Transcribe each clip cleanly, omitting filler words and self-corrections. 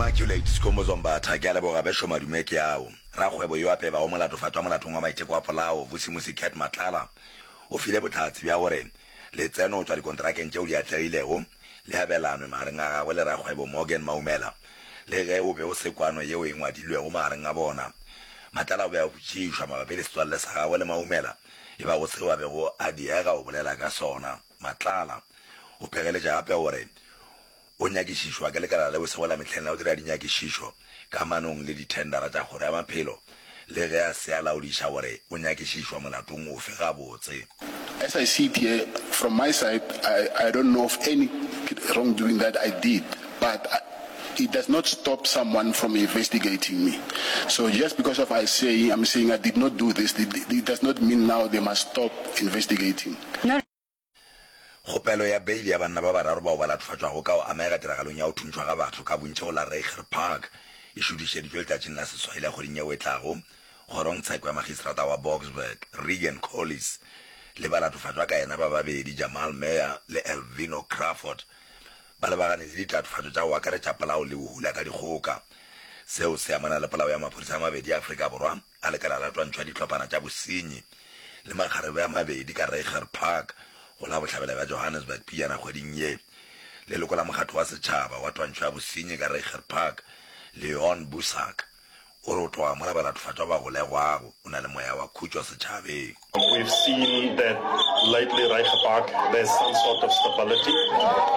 Immaculate Skhumbuzo Mbatha, Ke a leboga bešo madume ke ao. Rakgwebo yo a pebago molatofatšwa molatong wa maiteko a polao, Vusimusi Cat Matlala, o file bohlatse bja gore letseno go tšwa dikonterakeng tšeo di atlegilego le abelanwe magareng a gagwe le rakgwebo Morgan Maumela le ge go be go se kwano yeo e ngwadilwego magareng a bona. Matlala o be a botšišwa mabapi le setswalle sa gagwe le Maumela e bago seo a bego a diega go bolela ka sona. Matlala o phegeletša gape gore o nyakišišwa ke lekala leo sego la mehleng la go dira dinyakišišo kamanong le dithendara tša Kgoro ya Maphelo le ge a se a laodiša gore o nyakišišwa molatong ofe gabotse. As I sit here, from my side, I, I don't know of any wrongdoing that I did, but I, it does not stop someone from investigating me. So just because of I say, I'm saying I did not do this, it, it does not mean now they must stop investigating. Kgopelo ya beili ya banna ba bararo bao ba latofatšwago ka go amega tiragalong ya go thuntšhwa ga batho ka bontši go la Reiger Park e šuthišeditšwe letšatšing la seswai la kgweding yeo e tlago kgorongtsheko ya magistrata wa Boksburg, Regan Collis le balatofatšwa ka yena ba babedi, Jamal Meyer le Elvino Crawford, ba lebagane le ditatofatšo tša go akaretša polao le bohula ka dikgoka. Seo se amana le polao ya maphodisa a mabedi a Afrika Borwa a lekala la twantšho ya dihlophana tša bosenyi le makgarebe a mabedi ka Reiger Park go la bohlabela bja Johannesburg pejana kgweding ye. Leloko la mokgatlo wa setšhaba wa twantšho ya bosenyi ka Reiger Park, Leon Boesak, o re o tloga mola balatofatšwa ba golegwago, o na le moya wa khutšo setšhabeng. We've seen that lately Reiger Park there's some sort of stability.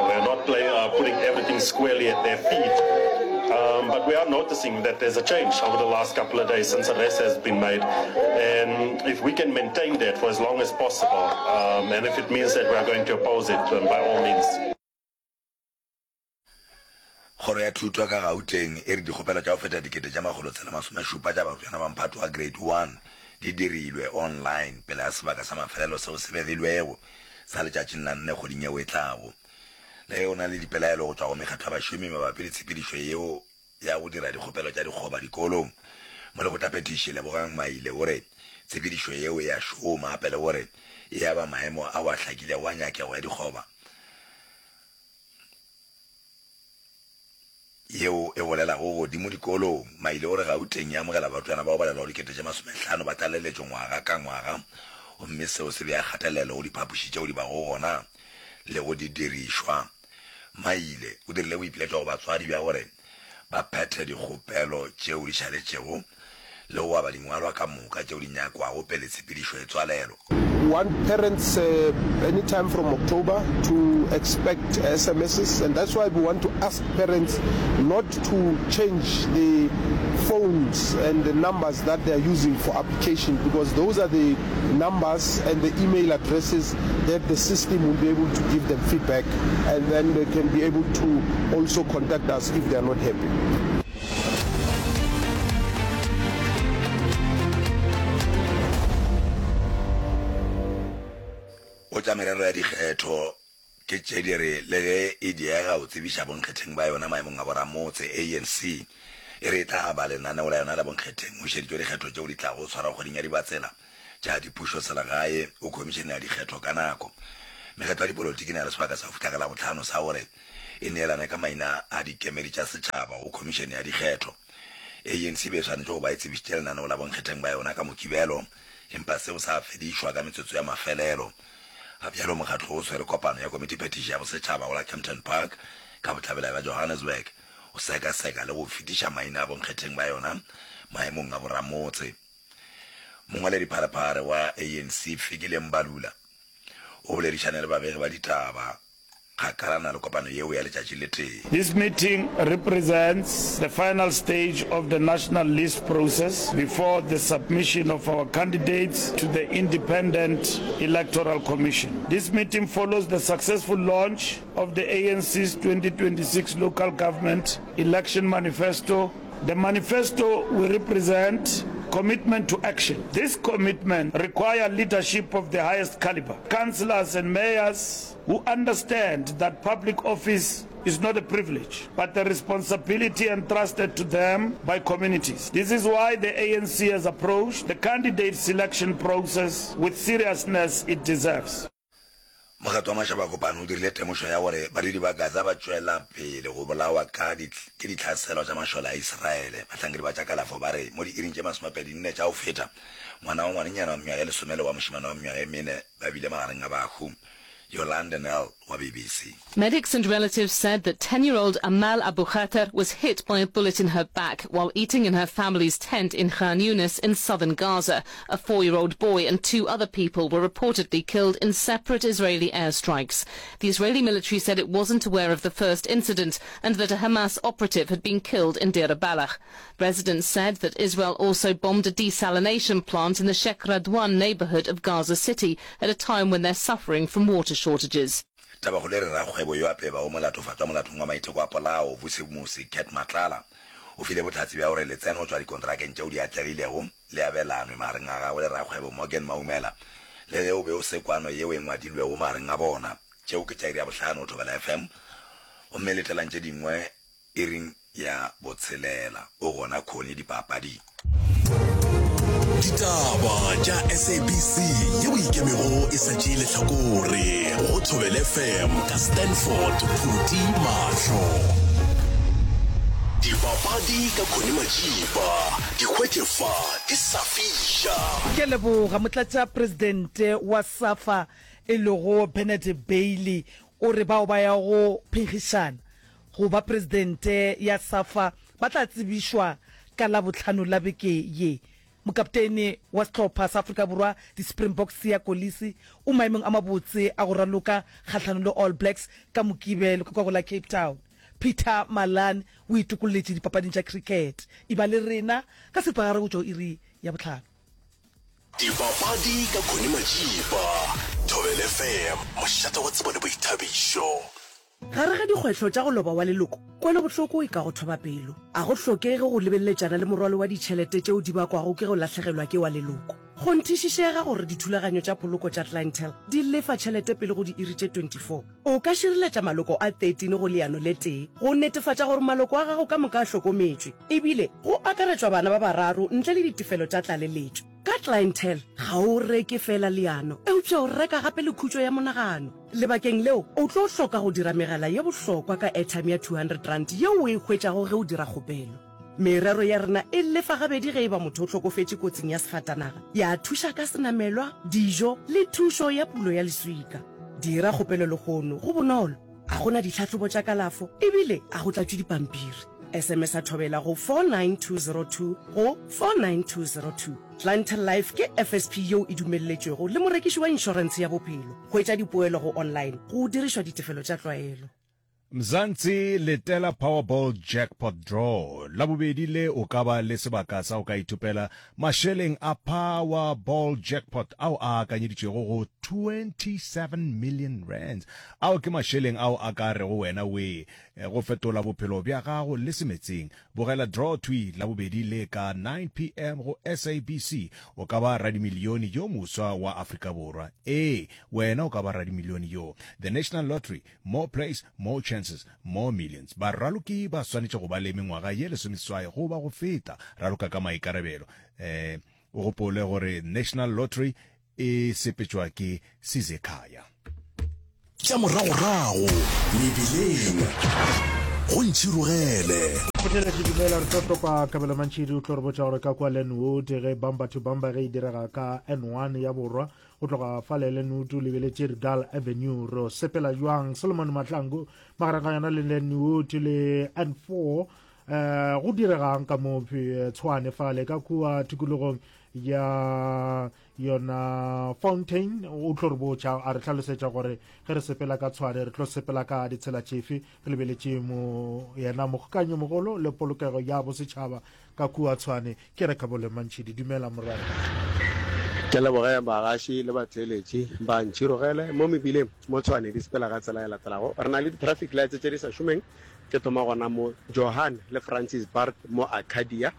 We're not play, uh, putting everything squarely at their feet. Um, but we are noticing that there's a change over the last couple of days since arrest has been made. And if we can maintain that for as long as possible, um, and if it means that we are going to oppose it, then by all means. Kgoro ya Thuto ka Gauteng e re dikgopelo tša go feta 3607 tša barutwana ba mphato wa Grade One di dirilwe online pele ga sebaka sa mafelelo seo se begilwego sa letšatšing la nne kgweding yeo e tlago. Le ge go na le dipelaelo go tšwa go mekgatlo ya bašomi mabapi le tshepedišo yeo ya go dira dikgopelo tša dikgoba dikolong, Molekgotlaphethiši Lebogang Maile o re tshepedišo yeo e a šoma gape le gore e aba maemo ao a hlakilego a nyakego ya dikgoba. yeo e bolelago godimo dikolong. Maile o re Gauteng e amogela barutwana bao balelwago 50,000 ba tlaleletšo ngwaga ka ngwaga gomme seo se bea kgatelelo go diphapoši tšeo di bago gona le go didirišwa. Maile o dirile boipiletšo go batswadi bja gore ba phethe dikgopelo tšeo di šaletšego le go aba dingwalwa ka moka tšeo di nyakwago pele tshepedišo e tswalelwa. We want parents anytime from October to expect SMSs and that's why we want to ask parents not to change the phones and the numbers that they are using for application because those are the numbers and the email addresses that the system will be able to give them feedback and then they can be able to also contact us if they are not happy. Go tša merero ya dikgetho ke tše di re le ge e diega go tsebiša bonkgetheng ba yona maemong a boramotse, ANC e re e tla aba lenaneo la yona la bonkgetheng go šeditšwe dikgetho tšeo di tlago swarwa kgweding ya Dibatsela tša dipušoselegae go Khomišene ya Dikgetho ka nako. Mekgatlo ya dipolotiki e na le sebaka sa go fihla ka Labohlano sa gore e neelane ka maina a dikemedi tša setšhaba go Khomišene ya Dikgetho. ANC e be e swanetše go ba e tsebišitše lenaneo la bonkgetheng ba yona ka Mokibelo, empa seo sa fedišwa ka metsotso ya mafelelo. Ga bjalo mokgatlo o swere kopano ya Komitiphethiši ya Bosetšhaba go la Kempton Park ka bohlabela bja Johannesburg go sekaseka le go fetiša maina a bonkgetheng ba yona maemong a boramotse. Mongwaledipharephare wa ANC Fikile Mbalula o boledišane le babegi ba ditaba kgakala na le kopano yeo ya letšatši le tee. This meeting represents the final stage of the national list process before the submission of our candidates to the Independent Electoral Commission. This meeting follows the successful launch of the ANC's 2026 local government election manifesto The manifesto will represent commitment to action. This commitment require leadership of the highest caliber, councillors and mayors who understand that public office is not a privilege, but a responsibility entrusted to them by communities. This is why the ANC has approached the candidate selection process with seriousness it deserves. Mokgatlo wa Mašaba a Kopano o dirile temošo ya gore badudi ba Gaza ba tšwela pele go bolawa ka ke ditlhaselo tša mašole a Israele. Bahlankedi ba tša kalafo ba re mo diiring tše masomepedi-nne tša go feta, ngwana wa ngwanenyana wa mengwaga e lesome le wa mošemane wa mengwaga e mene ba bile magareng a bahu. Yolande Nel wa BBC. Medics and relatives said that 10-year-old Amal Abu Khater was hit by a bullet in her back while eating in her family's tent in Khan Yunis in southern Gaza. A four-year-old boy and two other people were reportedly killed in separate Israeli airstrikes. The Israeli military said it wasn't aware of the first incident and that a Hamas operative had been killed in Deir Balah. Residents said that Israel also bombed a desalination plant in the Sheikh Radwan neighborhood of Gaza City at a time when they're suffering from water shortages. Tabakgolo e re rakgwebo yo a pebago molatofatšwa molatong wa maiteko a polao, Vusimusi Cat Matlala, o file bohlatse bja gore letseno go tšwa dikontrakeng tšeo di atlegilego le abelanwe magareng a gagwe le rakgwebo Morgan Maumela le ge o be o se kwano yeo e ngwadilwego magareng a bona. Tšeo ke tša iri ya bohlano go Thobela FM gomme letelang tše dingwe Iring ya botshelela. O gona Connie dipapading. Ditaba tša SABC yeo ikemego e sa tšee lehlakore go Thobela FM ka Stanford Phuti Mahlo. Dipapadi ka Connie Majiba di hwetše fa di sa fiša. Ke a leboga. Motlatšapresidente wa SAFA e lego Bernard Bailey o re bao ba yago phenkgišana go ba presidente ya SAFA ba tla tsebišwa ka Labohlano la beke ye. Mokapteine wa sehlopha sa Afrika Borwa di-Springboks Siya Kolisi o maemong a mabotse a go raloka kgahlanong le All Blacks ka Mokibelo ka kwa go la Cape Town. Peter Malan o itokolletše dipapading tša cricket. E ba le rena ka seripagare go tšwa go iri ya bohlano. Dipapadi ka Connie Majiba, Thobela FM, mošate wa tsebo le boithabišo. Gare ga dikgwetlho tša go loba wa leloko, kwelobohloko e ka go thoba pelo. A go hlokege go lebeleletšana le morwalo wa ditšhelete tšeo di bakwago ke go lahlegelwa ke wa leloko. Kgonthišišega gore dithulaganyo tša poloko tša Clientele di lefa tšhelete pele go diiri tše 24. O ka šireletša maloko a 13 go leano le tee go netefatša gore maloko a gago ka moka a hlokometšwe, ebile go akaretšwa bana ba bararo ntle le ditefelo tša tlaleletšo. Ka Clientele, ga o reke feela leano, eupša o reka gape le khutšo ya monagano. Lebakeng leo, o tlo hloka go dira megala ye bohlokwa ka airtime ya R200 yeo o e hwetšago ge o dira kgopelo. Merero ya rena e lefa gabedi ge e ba motho o hlokofetše kotsing ya sefatanaga, ya thuša ka senamelwa, dijo le thušo ya pulo ya leswika. Dira kgopelo lehono, go bonolo, ga go na ditlhahlobo tša kalafo ebile ga go tlatšwe dipampiri. SMS-a Thobela go 49202 go 49202. Clientele Life ke FSP yeo e dumelletšwego le morekiši wa inšorentshe ya bophelo. Hwetša dipoelo go online go dirišwa ditefelo tša tlwaelo. Mzansi letela Powerball Jackpot Draw Labobedi le o ka ba le sebaka sa go ka ithopela mašeleng a Powerball Jackpot ao a akanyeditšwego go 27 million rands. Ao ke mašeleng ao a ka rego wena wee Go fetola bophelo bja gago le semetseng. Bogela Draw thwi Labobedi le ka 9 PM go SABC. O ka ba radimilione yo moswa wa Afrika Borwa. Ee, wena o ka ba radimilione yo. The National Lottery, more plays, more chances, more millions. Baraloki ba swanetše go ba le mengwaga ye lesomeseswai goba go feta. Raloka ka maikarabelo. O gopole gore National Lottery e sepetšwa ke Sizekhaya. Tša moragorago mebileng go ntšhirogele. Motheeletši dumela re tlo topa Kabelo Mantšhidi o tlo re botša gore ka kwa Lenwood ge bumper to bumper ge e direga ka N1 ya borwa go tloga fale Lenwood o lebeletše Regal Avenue re sepela jwang Solomon Mahlangu magareng ga yona le Lenwood le N4 eh go diregang ka mo eh, Tshwane fale ka kua tikologong ya yona Fountain o tlo re botša a re hlalosetša gore ge re sepela ka Tshwane re tlo sepela ka ditsela tšefe re lebeletše mo yena mogokanyo mogolo le polokego ya bosetšhaba ka kua Tshwane ke re Kabole Mantšhidi dumela morena. Ke leboge bagaši le batheeletši ba Ntšhirogele mo mebileng mo Tshwane di sepela ka tsela e latelago. Re na le di-traffic lights tše di sa šomeng Ke thoma gona mo Johan le Francis Baard mo Arcadia.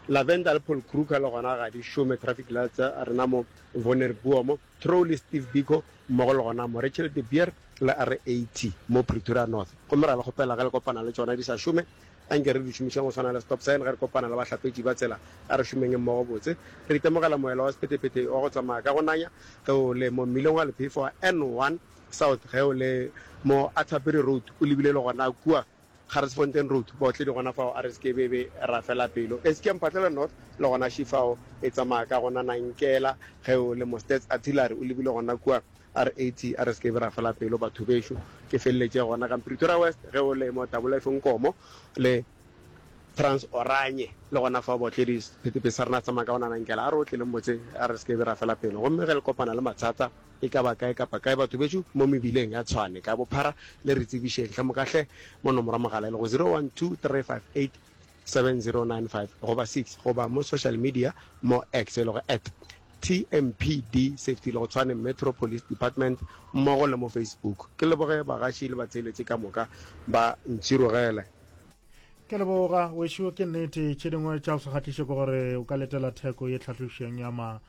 Lavender le Paul Kruger le gona ga di šome traffic lights tša rena mo Wonderboom, Trou le Steve Biko mmogo le gona mo Rachel de Beer le R80 mo Pretoria North. Gomme ra le kgopela ge le kopana le tšona di sa šome, anke re di šomišeng go swana le stop sign ge re kopana le bahlapetši ba tsela. A re šomeng mmogo botse. Re itemogela moela wa sephethephethe wa go tsamaya ka go nanya ge o le mo mmileng wa lephefo wa N1. South ge o le mo Atterbury Road o lebile le gona kua Garsfontein Road, baotledi gona fao a re se ke be be ra fela pelo. Eskia Mphahlele North le gona še fao e tsamaya ka gona Nankela ge o le mo Stats Artillery o lebile gona kua R80 a re se ke be ra fela pelo batho bešo. Ke feleletše gona ka Pretoria West ge o le mo Double F Nkomo le Trans Oranye le gona fao baotledi sephethephethe sa rena se tsamaya ka gona Nankela a re otleleng botse a re se ke be ra fela pelo. Gomme ge le kopana le mathata E ka ba kae kapa kae batho bešo mo mebileng ya Tshwane ka bophara le re tsebišeng hle moka hle mo nomoro ya mogala e lego 0123587095 goba 6 goba mo social media mo X e lego at TMPD Safety le go Tshwane Metro Police Department mmogo le mo Facebook. Ke leboge bagaši le batheeletši ka moka ba ntširogele. Ke leboga wešo ke nnete tše dingwe tša go se kgahliše ke gore o ka letela theko ye tlhahlošeng ya ma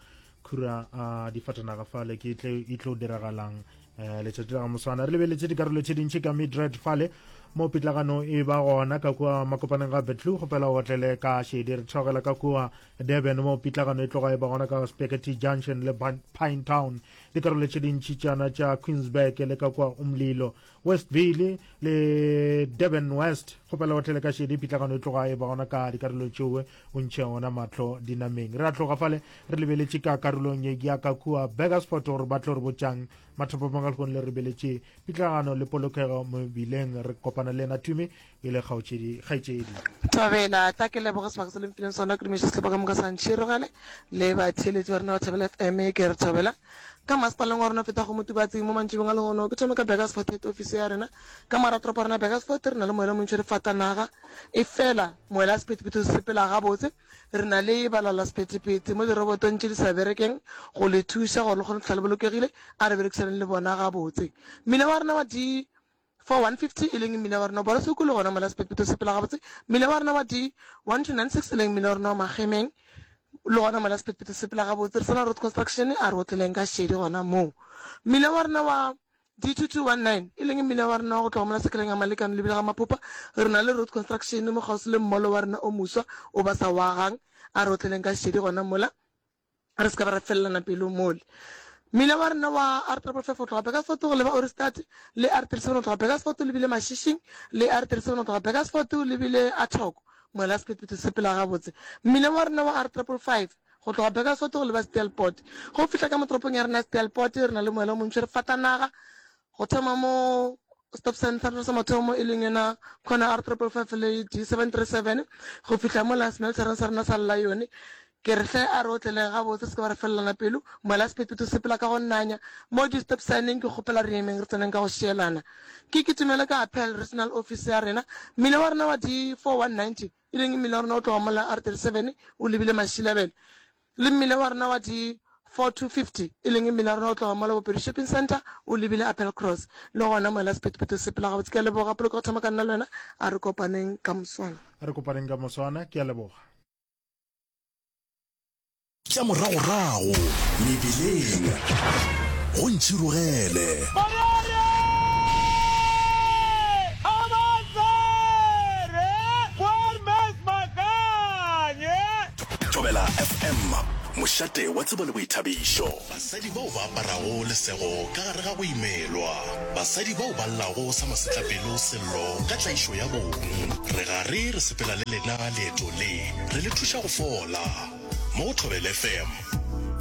khura a difatanaga fale ke tle e tlo diragalang um letšatši la ga moswana re lebeletše dikarolo tše dintši ka midred fale mo pitlagano e ba gona ka kua makopaneng ga betlu kgopela o otlele ka šedi re theogela ka kua durban mo pitlagano e tloga e ba gona ka spaghetti junction le pine town dikarolo tše dintši tšana tša queensburg le ka kua umlilo Westville le Durban West. Kgopela o tlele ka šedi pitlagano e tloga e ba gona ka dikarolo tšeoe o ntšhe ona mahlo dinameng. Re a tloga fale re lebeletše ka karolong ye ya ka kua Burgersfort gore ba tlo re botšang mathapamong a lehono le re lebeletše pitlagano le polokego mebileng. Re kopana le yena Tumi e le kgaotšedi kgaetšedi. Thobela, tla ke leboge sebaka se le mfileng sona ke dumiše sehlopha ka moka sa Ntšhirogele le batheeletši ba rena ba Thobela FM ke re Thobela Ka masepaleng wa rena feta go Motubatsi mo mantšibong a lehono. Ke thome ka Burgersfort head office ya rena. Ka morago toropo ya rena Burgersfort re na le moela o montši re fatanaga. Efela moela sephethephethe o sepela gabotse. Re na le balala sephethephethe mo dirobotong tše di sa berekeng go le thuša gore le kgone go fihla le bolokegile. A re berekisaneng le bona gabotse. Mmila wa rena wa D 4150 e leng mmila wa rena wa Borosoko le gona mola sephethephethe o sepela gabotse. Mmila wa rena wa D 1296 e leng mmila wa rena wa Magemeng le gona mola sephethephethe se sepela gabotse. Re sa na road construction a re otleleng ka šedi gona moo. Mmila wa rena wa D 2219 e leng mmila wa rena wa go tloga mola sekeleng ya Malekane lebile ga Maphopa re na le road construction mo kgauswi le mmolo wa rena o moswa o ba sa o agang a re otleleng ka šedi gona mola. Re se ka ba ra felelana pelo mole. Mmila wa rena wa R triple five go tloga Burgersfort go leba Ohrigstad le R 37 go tloga Burgersfort o lebile Mashishing le R 37 go tloga Burgersfort o lebile Athoko. Moela sephethephethe se sepela gabotse. Mmila wa rena wa R triple five go tloga Burgersfort go leba Steelpoort. Ge o fihla ka mo toropong ya rena ya Steelpoort re na le moela o montši re fatanaga Go thoma mo stop sign sa rena sa mathomo e leng yona corner R 555 le D 737 go fihla mola smeltereng sa rena sa Lion. Ke re hle a re otleleng gabotse re se ke ba re felelana pelo. Mola sephethephethe se sepela ka go nanya mo di stop sign-eng ke kgopela re emeng re tseneng ka go šielana. Ke kitimele ka Appel Regional Office ya rena. Mmila wa rena wa D 4190 e leng mmila wa rena o tloga mola R 37 o lebile Mashilabele. Le mmila wa rena wa di 4250, e leng mmila wa rena o tloga mola Bopedi Shopping Centre o lebile Appelcross. Le gona moela sephethephethe se sepela gabotse. Ke a leboga Poloko go thoma ka nna le wena. A re kopaneng ka moswana. A re kopaneng ka moswana. Ke a leboga. Tša moragorago mebileng go ntšhirogele. Thobela FM, mošate wa tsebo le boithabišo. Basadi bao ba aparago lesego ka gare ga go imelwa. Basadi bao ba llago sa masetlapelo sello ka tlaišo ya bong. Re gare re sepela le lena leeto le, re le thuša go fola. Mo go Thobela FM.